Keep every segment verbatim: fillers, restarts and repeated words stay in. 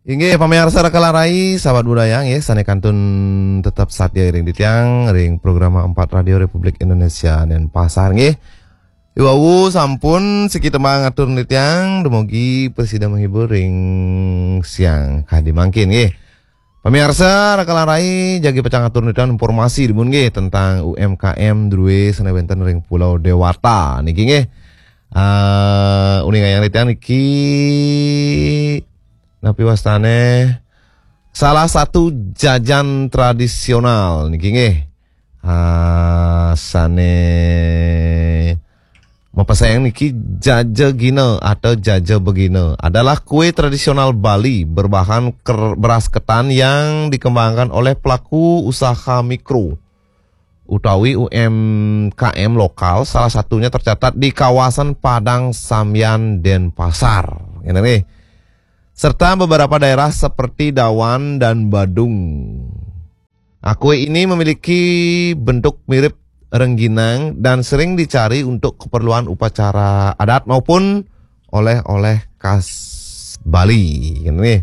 Inggih, pamiarsa Raka lan Rai, sahabat budaya nggih, sané kantun tetep satya ring titiang ring program empat Radio Republik Indonesia Denpasar nggih. Iwau sampun siki tembang atur titiang, dumugi prasida menghibur ring siang kadi mangkin nggih. Pamiarsa Raka lan Rai, jagi pacang atur titiang informasi dumun nggih tentang U M K M drué sané wénten ring Pulau Dewata niki nggih. Ah, uningayang titiang niki napi wastané salah satu jajan tradisional niki nggih. Ah, sané mapesaing niki jaja gina atau jaja begina adalah kue tradisional Bali berbahan ker- beras ketan yang dikembangkan oleh pelaku usaha mikro utawi U M K M lokal, salah satunya tercatat di kawasan Padang Sambian, Denpasar. Ngene nih. Serta beberapa daerah seperti Dawan dan Badung. Nah, kue ini memiliki bentuk mirip rengginang dan sering dicari untuk keperluan upacara adat maupun oleh-oleh khas Bali. Ngene nih.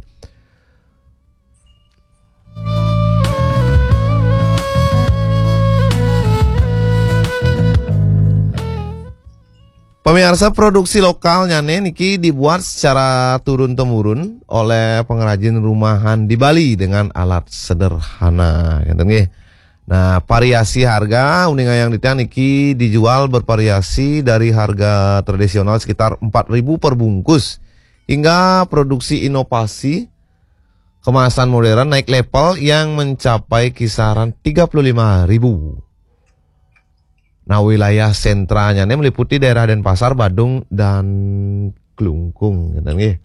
Pemirsa, produksi lokalnya nih niki dibuat secara turun temurun oleh pengrajin rumahan di Bali dengan alat sederhana, ngeten nggih. Nah, variasi harga uningayang titiang niki dijual bervariasi dari harga tradisional sekitar empat ribu per bungkus hingga produksi inovasi kemasan modern naik level yang mencapai kisaran tiga puluh lima ribu. Nah, wilayah sentranya ini meliputi daerah Denpasar, Badung, dan Klungkung, gitu nggih.